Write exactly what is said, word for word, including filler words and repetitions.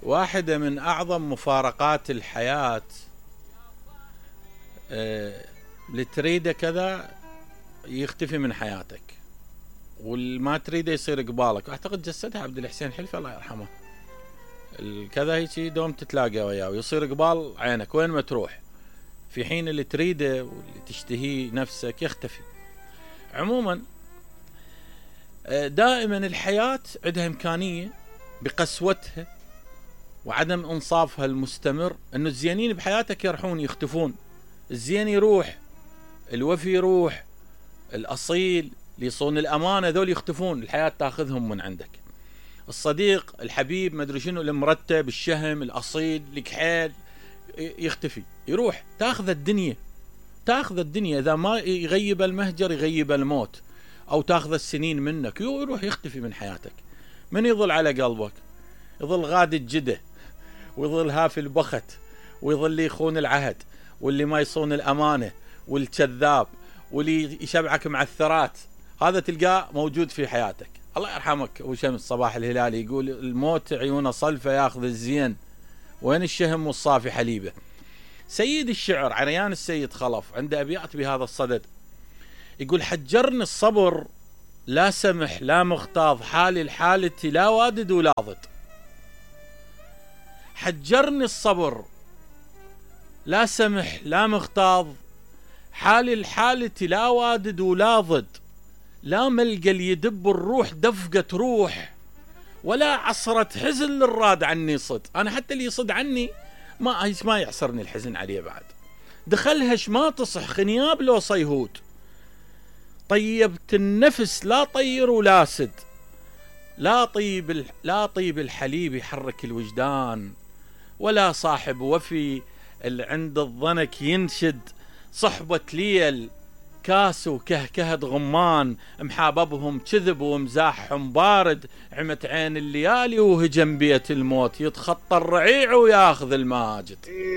واحدة من أعظم مفارقات الحياة آه اللي تريده كذا يختفي من حياتك، والما تريده يصير قبالك. أعتقد جسدها عبد الحسين حلفي الله يرحمه. الكذا هيك دوم تتلاقى وياه ويصير قبال عينك وين ما تروح، في حين اللي تريده واللي تشتهيه نفسك يختفي. عموما دائما الحياة عندها إمكانية بقسوتها وعدم إنصافها المستمر أنه الزينين بحياتك يرحون يختفون. الزين يروح، الوفي يروح، الأصيل اللي يصون الأمانة ذول يختفون، الحياة تاخذهم من عندك. الصديق الحبيب مدري شنو المرتب الشهم الأصيل الكحيل يختفي يروح، تاخذ الدنيا تاخذ الدنيا إذا ما يغيب المهجر يغيب الموت، أو تاخذ السنين منك يروح يختفي من حياتك. من يظل على قلبك؟ يظل غادي الجده، ويظل هافي البخت، ويظل يخون العهد، واللي ما يصون الأمانة، والكذاب، واللي يشبعك مع الثرات. هذا تلقاه موجود في حياتك. الله يرحمك أبو شمس صباح الهلالي يقول الموت عيونه صلفة ياخذ الزين، وين الشهم والصافي حليبه. سيد الشعر عريان السيد خلف عنده أبيات بهذا الصدد، يقول حجرني الصبر لا سمح لا مغتاظ، حالي الحالة لا وادد ولا ضد. حجرني الصبر لا سمح لا مغتاظ، حالي الحالة لا وادد ولا ضد. لا ملقى اللي يدب الروح دفقة روح، ولا عصرة حزن للراد عني صد. أنا حتى اللي يصد عني ما ما يعصرني الحزن عليه بعد. دخلهش ما تصح خنياب لو صيهود، طيبت النفس لا طير ولا سد. لا طيب لا طيب الحليب يحرك الوجدان، ولا صاحب وفي اللي عند الضنك ينشد. صحبة ليل كاس وكهكهة غمان، محاببهم كذب ومزاحهم بارد. عمت عين الليالي وهجم بيت الموت، يتخطى الرعيع وياخذ الماجد.